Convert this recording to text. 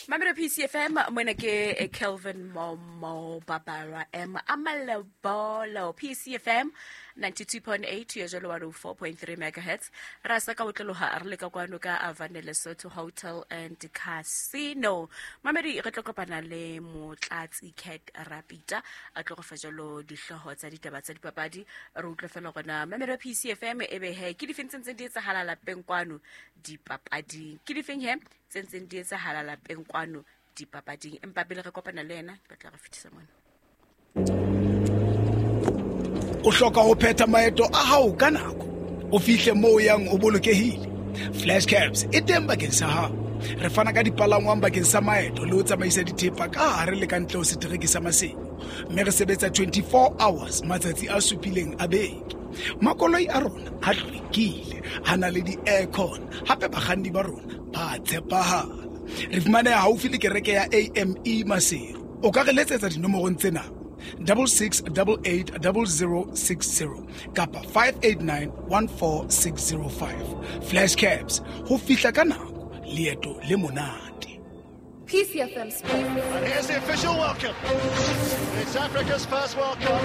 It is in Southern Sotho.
Mamelo PCFM, mona ke Kelvin Momo Babara M Amalebolo. PCFM 92.8 ya jalo 104.3 megahertz. Ra sa ka otloloha re le ka kwano ka Avane Lesotho Hotel and Casino. Mamedi, re tlo kopana le Motlatsi Cat Rapita, a tlo go fa jalo dihlooho tsa ditaba tsa dipapadi. Re utlwe fela gona mamelo PCFM e be he ke difeng tse ntseng di etsahala lapeng kwano dipapading, ke difeng he tse ntseng di etsahala lapeng kwano dipapading. Empa pele re kopana le yena, ke batla re fetisa mona. O hloka ho phetha maeto a hao ka nako, o fihle moo o yang o bolokehile. Flash Cabs e teng bakeng sa hao. Re fana ka dipalangwang bakeng sa maeto le ho tsamaisa dithepa ka hare le ka ntle ho setereke sa Maseru, mme re sebetsa 24 hours matsatsi a supileng a beke. Makoloi a rona a hlwekile, a na le di-aircon, hape bakganni ba rona ba tshepahala. Re fumaneha haufi le kereke ya AME Maseru. O ka re letsetsa dinomorong tsena: 66880060 kapa 58914605. Flash Cabs, ho fihla ka nako, leeto le monate. PCFM Sports. And here's the official welcome. It's Africa's first World Cup.